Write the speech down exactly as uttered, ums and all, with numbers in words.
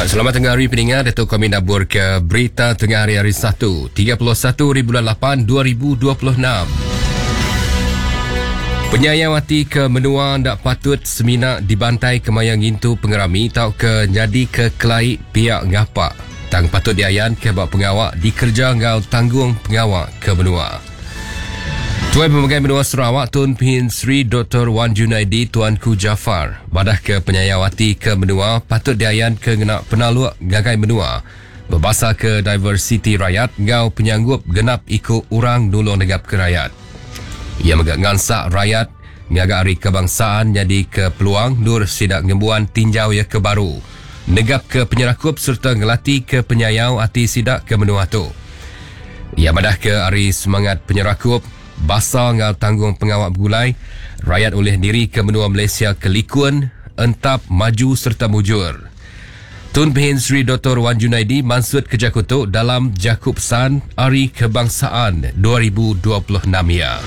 Selamat tengah hari peningat, Datuk kami nabur ke berita tengah hari hari Satu, tiga puluh satu bulan lapan dua ribu dua puluh enam. Penyayau hati ke menua ndak patut semina dibantai kemayang ngintu pengerami tau ke nyadi ke kelai pihak ngapak. Tang patut diayan ke bak pengawak dikerja ngau tanggung pengawak ke menua. Tuan Pemegai Menua Sarawak Tun Pehin Sri Doktor Wan Junaidi Tuanku Jaafar badah ke penyayau hati ke menua patut diayan ke ngena penaluk gagai menua berbahasa ke diversiti rakyat ngau penyanggup genap ikut orang nulung negap ke rakyat. Ia megak ngansak rakyat ngagak hari kebangsaan jadi ke peluang nur sidak ngembuan tinjau ya ke baru negap ke penyerakup serta ngelati ke penyayau hati sidak ke menua tu. Ia madah ke hari semangat penyerakup basa ngau tanggung pengawak bergulai rakyat oleh diri ke menua Malaysia kelikun entap maju serta mujur. Tun Pehin Sri Doktor Wan Junaidi mansut ke Jakutuk dalam Jakub San Hari Kebangsaan dua ribu dua puluh enam ya.